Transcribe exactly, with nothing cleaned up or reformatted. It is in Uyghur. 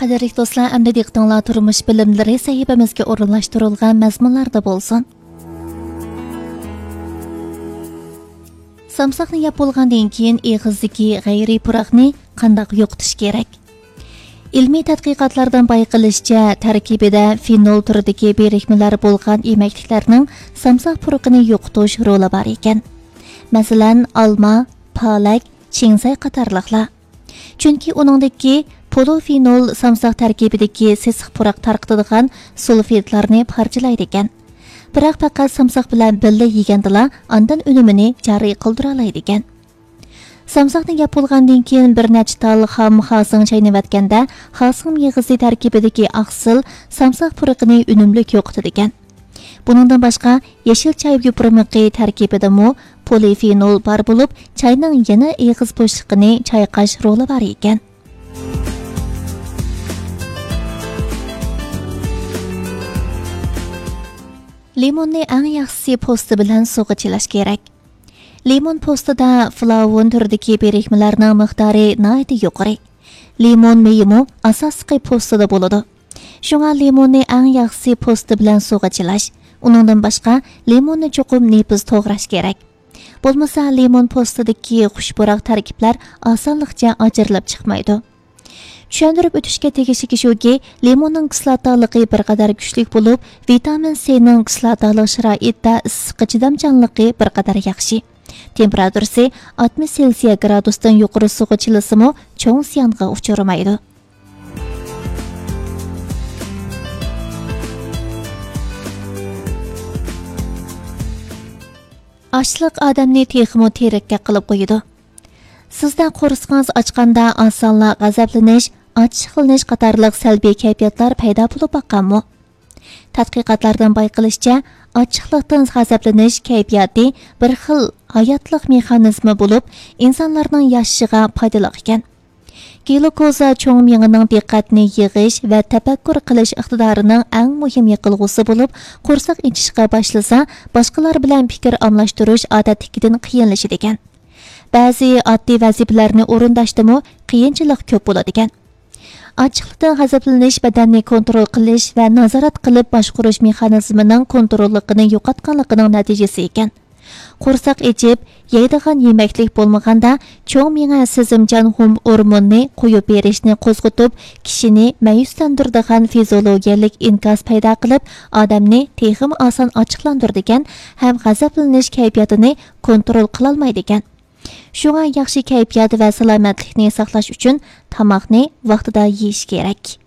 قەدىرلىك دوستلار، ئەمدى دىققىتىڭلار تۇرمۇش بىلىملىرى سەھىپىمىزگە ئورۇنلاشتۇرۇلغان مەزمۇنلاردا بولسۇن. سامساقنى يەپ بولغاندىن كېيىن ئېغىزدىكى غەيرىي پۇراقنى قانداق يوقىتىش كېرەك؟ ئىلمىي تەتقىقاتلاردىن بايقىلىشىچە، تەركىبىدە فېنول تۈرىدىكى بىرىكمىلەر بولغان يېمەكلىكلەرنىڭ سامساق پۇرىقىنى يوقىتىش رولى بار ئىكەن. مەسىلەن، ئالما، پالەك، چىڭزەي قاتارلىقلار. چۈنكى ئۇنىڭدىكى پولىفېنول سامساق تەركىبىدىكى سېسىق پۇراق تارقىتىدىغان سۇلفىدلارنى پارچىلايدىكەن. بىراق پەقەت سامساق بىلەن بىللە يېگەندىلا ئاندىن ئۈنۈمىنى جارى قىلدۇرالايدىكەن. سامساقنى يەپ بولغاندىن كېيىن بىر نەچچە تال خام خاسىڭ چاينىۋەتكەندە، خاسىڭ مېغىزى تەركىبىدىكى ئاقسىل سامساق پۇرىقىنى ئۈنۈملۈك يوقىتىدىكەن. بۇنىڭدىن باشقا، يېشىل چاي يوپۇرمىقى تەركىبىدىمۇ پولىفېنول بار بولۇپ، چاينىڭ يەنە ئېغىز بوشلۇقىنى چايقاش رولى بار ئىكەن. لىموننى ئەڭ ياخشىسى پوستى بىلەن سۇغا چىلاش كېرەك. لىمون پوستىدا فلاۋون تۈرىدىكى بىرىكمىلەرنىڭ مىقدارى ناھايىتى يۇقىرى. لىمون مېيىمۇ ئاساسلىقى پوستىدا بولىدۇ. شۇڭا لىموننى ئەڭ ياخشىسى پوستى بىلەن سۇغا چىلاش. ئۇنىڭدىن باشقا، لىموننى چوقۇم نېپىز توغراش كېرەك. بولمىسا، لىمون پوستىدىكى خۇش پۇراق تەركىبلەر ئاسانلىقچە ئاجرىلىپ چىقمايدۇ. چۈشەندۈرۈپ ئۆتۈشكە تېگىشلىكى شۇكى، لىموننىڭ كىسلاتالىقى بىر قەدەر كۈچلۈك بولۇپ، ۋىتامىن سىنىڭ كىسلاتالىق شارائىتتا ئىسسىققا چىدامچانلىقى بىر قەدەر ياخشى. تېمپېراتۇرىسى ئاتمىش سېلسىيە گرادۇستىن يۇقىرى سۇغا چىلىسىمۇ، چوڭ زىيانغا ئۇچرىمايدۇ. ئاچلىق ئادەمنى تېخىمۇ تېرىككە قىلىپ قويىدۇ. سىزدە قورسىقىڭىز ئاچقاندا ئاسانلا غەزەپلىنىش، ئاچچىقلىنىش قاتارلىق سەلبىي كەيپىياتلار پەيدا بولۇپ باققانمۇ؟ تەتقىقاتلاردىن بايقىلىشىچە، ئاچچىقلىقتىن غەزەپلىنىش كەيپىياتى بىر خىل ھاياتلىق مېخانىزمى بولۇپ، ئىنسانلارنىڭ ياشىشىغا پايدىلىق ئىكەن. گلۇكوزا چوڭ مېڭىنىڭ دىققەتنى يىغىش ۋە تەپەككۇر قىلىش ئىقتىدارىنىڭ ئەڭ مۇھىم يېقىلغۇسى بولۇپ، قورساق ئېچىشقا باشلىسا، باشقىلار بىلەن پىكىر ئالماشتۇرۇش ئادەتتىكىدىن قىيىنلىشىدىكەن. بەزى ئاددىي ۋەزىپىلەرنى ئورۇنداشتىمۇ قىيىنچىلىق كۆپ بولىدىكەن. ئاچچىقلىقتىن غەزەپلىنىش بەدەننى كونترول قىلىش ۋە نازارەت قىلىپ باشقۇرۇش مېخانىزمىنىڭ كونتروللۇقىنى يوقاتقانلىقىنىڭ نەتىجىسى ئىكەن. قورساق ئېچىپ، يەيدىغان يېمەكلىك بولمىغاندا، چوڭ مېڭە سېزىمچان ھوم ئورموننى قويۇپ بېرىشنى قوزغىتىپ، كىشىنى مەيۈسلەندۈرىدىغان فىزىيولوگىيەلىك ئىنكاس پەيدا قىلىپ، ئادەمنى تېخىمۇ ئاسان ئاچچىقلاندۇرىدىكەن ھەم غەزەپلىنىش كەيپىياتىنى كونترول قىلالمايدىكەن. شۇڭا ياخشى كەيپىيات ۋە سالامەتلىكنى ساقلاش ئۈچۈن تاماقنى ۋاقتىدا يېيىش كېرەك.